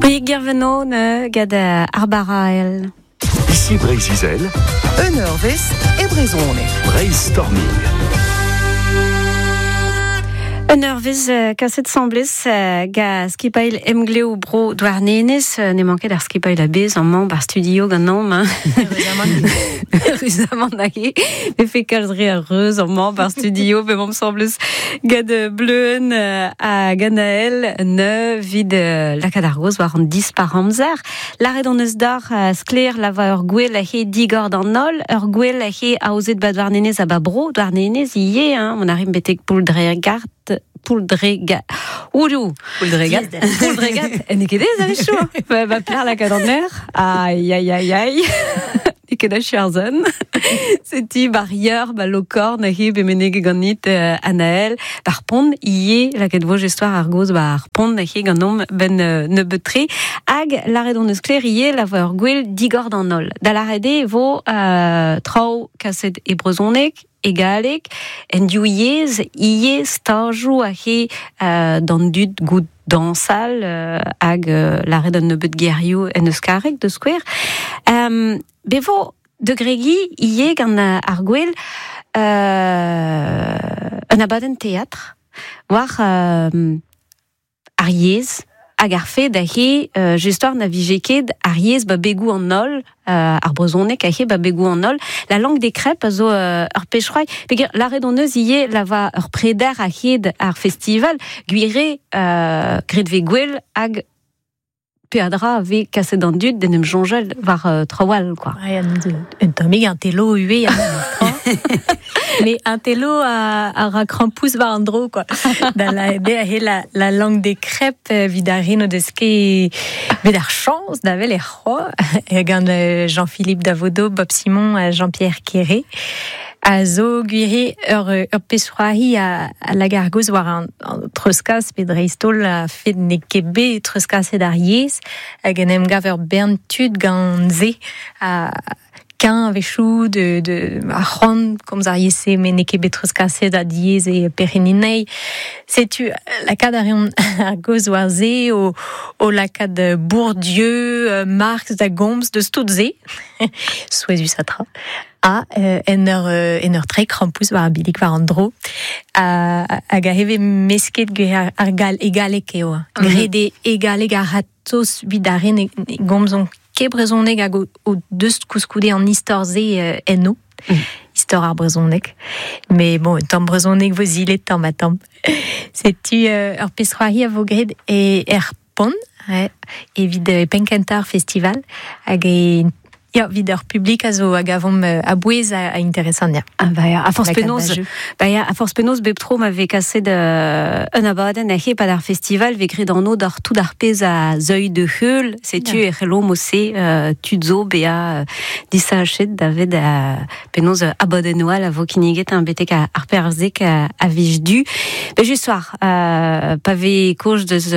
Brieg Guerveno ne gant ar barael. Ici Breizh-Izel. Un eurvezh e brezhoneg. Breizh-Storming. Un eurvezh kaset 'sambles ga skipailh Emglev Bro Douarnenez. N'emañ ket ar skipailh a-bezh amañ 'bar studio ganeomp. Hein. Eüruzamant hag eo. Vefe kalz re a reuz amañ 'bar studio p'emaomp 'sambles gant Bleuenn hag Anaël ne 'vit lakaat ar gaoz war an dispar-amzer. Lâret hon eus deoc'h sklaer la va ur gwel he digor d'an holl, ur gwel he aozet ba Douarnenez ha ba bro Douarnenez ivez, hein, on arrive betek Pouldregard Pouldrega Oulou Pouldregat Pouldregat n'eo ket aes a-wechoù hein. Va plec'h lakaat an aer Aïe aïe aïe aïe N'eo ket achu ar son. Setu bar yeur, ba Lokorn, he bet meneget ganit Anaël, bar pont ivez, lakaet vo jestoar ar gaoz war pont he ganeomp ben nebeut-tre. Hag lâret hon eus sklaer ivez la vo ur gwel digor d'an holl. Da lâret eo e vo traoù kaset e brezhoneg, e galleg, en div yezh ivez stajoù aze d'an dud goût dañsal hag lâret un nebeud gerioù en euskareg da skouer. Bet vo da gregiñ ivez gant ar gwel un abadenn teatr war ar yezh hag ar fed aze just na vije ket ar yezh ba begoù an holl ar brezhoneg aze ba begoù an holl. La langue des crêpes a zo ur pezh c'hoari. Peogwir lâret hon eus ivez la va ur preder a-hed ar festival gwir eo graet 'vez gwell hag peadra a vez kaset d'an dud d'en em soñjal war traoù all quoi. Ouais, un tammig un telo ivez Mais un telo a ra krampouezh war an dro quoi. Da la he la, la langue des crêpes evit ar re n'o deus ket bet ar chañs da wel er c'hoa gant Jean-Philippe Davodeau, Bob Simon ha Jean-Pierre Quéré. A zo gwir ur, ur pezh-c'hoari a, a lak ar gaoz war an, an treuzkas pe dreist-holl a fed n'eo ket bet treuzkaset ar yezh hag en em gav ur bern tud gant se a keñv a-wechoù de, de ar c'hoant komz ar yezh-se met n'eo ket bet treuzkaset ha diaes eo perc'henniñ anezhi. Setu lakaat a reont ar gaoz war se o, o lakaat Bourdieu, Marx da gomz deus tout se. Souezhus ha tra. Ha en ur, en ur treiñ krampouezh war ar billig war an dro. Hag a vez mesket gwir ar gal e galleg eo. Graet eo e galleg a-ratozh evit ar re ne gomzont ket brezhoneg hag o deus koulskoude an istor-se enno. Istor ar brezhoneg. Mais bon, un tamm brezhoneg vo zilet tamm ha tamm. Setu ur pezh-c'hoari a vo graet e er Pont, evit penn-kentañ ar festival hag e Ya, evit ur publik a zo a gavomp a-bouez a interesant, ya. Ah bah ya, a forzh penaos, bah ya, a forzh penaos bep tro ma vez kaset un abadenn a pad ar festival vez graet anv d'ar tout ar pezh a zeuy de heul, setu e c'hello mo-se tud zo bezañ disachet davet penaos abadennoù all a vo kinniget hein, betek ar perzhek a vij du. Ben just soir, pa vez kaoz deus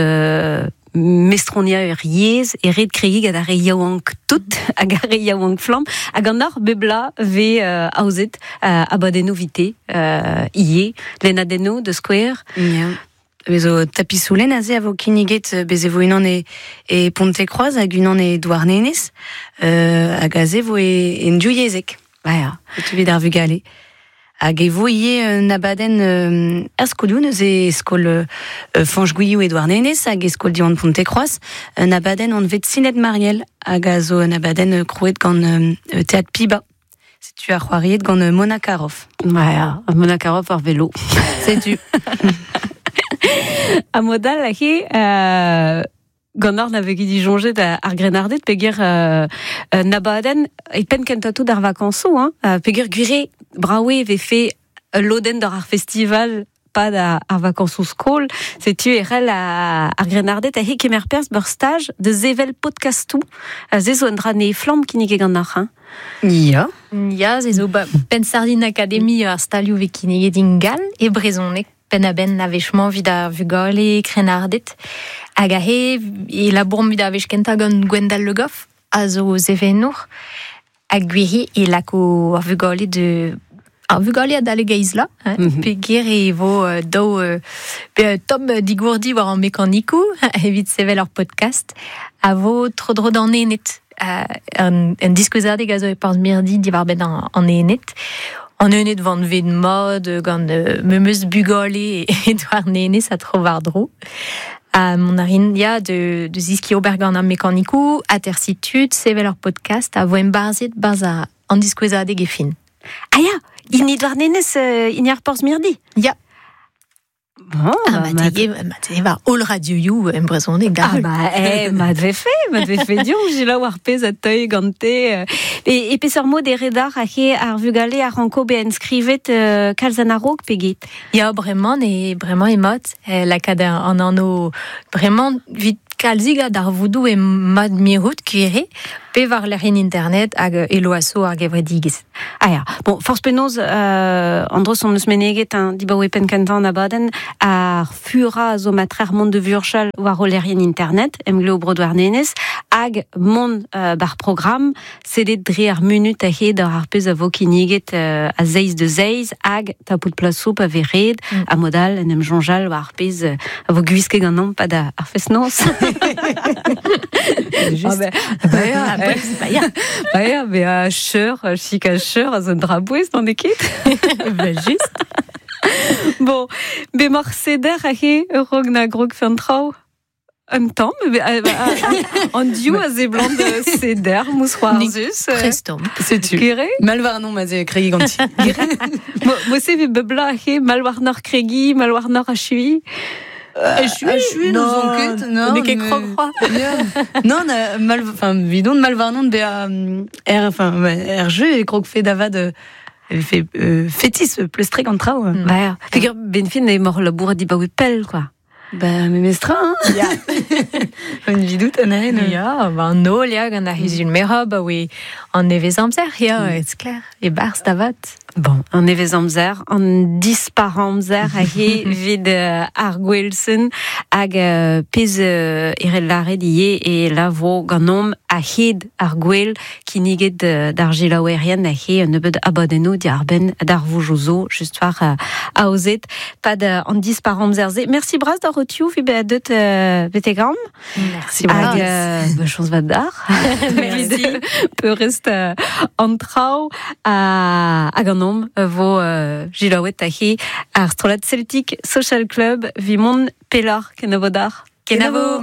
mestroniañ ur yezh e ret kregiñ gant ar re yaouank tout hag ar re yaouank flamm hag an hoc'h bep bloaz vez aozet abadennoù vite ivez lennadennoù da skouer. Yeah. Bez zo tapisoulenn aze a vo kinniget bez e vo unan e, e Pontekroaz hag unan e Douarnenez hag aze vo e, en div yezhek. Ba ya. Setu evit ar vugale. Hag e vo ivez un abadenn er skolioù neuze e skol Fañch Gwilhou e Douarnenez hag e skol Diwan Pontekroaz un abadenn anvet Sinet Mariel hag a zo un abadenn krouet gant Teatr Piba. Setu ar c'hoariet gant Mona Caroff. Ya, Mona Caroff war velo. Setu. Ha mod all aze Ganeoc'h na vez ket disoñjet ar grennarded peogwir un abadenn e penn kentañ tout ar vakañsoù hein, peogwir gwir eo brav eo e vefe ul lodenn doc'h ar festival pad ar vakañsoù skol. Setu e c'hell ar grennarded aze kemer perzh ur staj da sevel podkastoù. Se zo un dra nevez-flamm kinniget ganeoc'h hein. Ya. Ya, se zo ba Penn-Sardin Academy ar stalioù vez kinniget ingal e brezhoneg. Penn-a-benn a-wech-mañ evit ar vugale krennarded. Hag aze e labouromp evit ar wech kentañ gant Gwendal Le Goff, a zo sevenour. Hag gwir e lako ar vugale de Ar vugale a dale geiz la, hein, pe ger e vo daou pe tom digourdi war an mekanikou evit sevel ar podcast a vo tro dro d'an enet. Un diskouezadeg a zo e parz mirdi diwar ben an enet. An enet van ved mod gant memeus bugale e doar nenez a tro war dro. Mon arin ya de ziski ober gant an mekanikou, atersi tud, sevel ar podcast a vo embarzet barz an diskouezadeg e fin. Ah ya, ini doar nenez ini ar porz mirdi. Ya. Bon, Ah, bah, ma te va all radio you en brezhoneg da. Ah bah, eh, ma dve fe dion, j'ai la war pez a teuil gante. E peseurt mod e redar a he ar vugale a ranko be enskrivet kalz an a-raok pe get. Ya, bremañ e bremañ e mod, lakaat an anno bremañ vit kalzig d'ar voudou e mod mirout kuere, pe war lec'hien internet hag elo aso ar gevredigez. Ah ya, bon, forz penaos, andros on eus meneget un dibaoe pen kentan abadenn ar fura zo matrer mont de vurchal war o lec'hien internet, emgleo bro doar nenez, hag mont bar program, sedet dre ar munut a hed ar pez a vo kinniget a zeiz de zeiz, hag tapout plaso pa ve red, a modal en em jonjal war ar pez a vo gwiske gant an pa da ar fest-noz. Juste. Ah ben, bah ya, Ah, bah, ya. Bah ya, mais a cheur, chik a cheur, a zo drabouez dans ket. Bah, juste. Bon, be mar seder a he rog na grog fen traoù. Un tamm, be, an diou a zeblant seder, mous c'hoarzus. Prestom. Setu. Kere? Malvarnon ma ze kregi ganti. Mo se ve bebla a he malwarnor kregi, malwarnor a chui. Achui, nous on ket, non. Ne ket krog c'hoa. Non, na, mal, enfin, vidon malvarnon be a er, enfin, er jeu e krog fe davad fe fetis pleustrek an traoù. Bah ya, figur ben fin e mor labour di baoe pell, quoi. Bah, me mestra, hein. Ya. Un vidout an aen. Ya, ba an nol ya gant ar huzul mera, ba oe an nevez amzer, ya, it's clair. E barz davat. Bon, an nevez amzer, an dispar amzer a he vid ar gwelsen hag pez erel laret ie e la vo ganom a hed ar gwel kinniget d'ar gilaouerien a he un nebeud abadenno di ar ben d'ar voujozo just war aozet pad an dispar amzer ze. Merci bras d'ar rotiou vi be deut betegam. Merci Hag ba chans vat d'ar. Merci. Peurest an traoù hag an om vo gilaouet a he ar strollad Celtic Social Club vi mont pelor kenavo d'ar. Kenavo.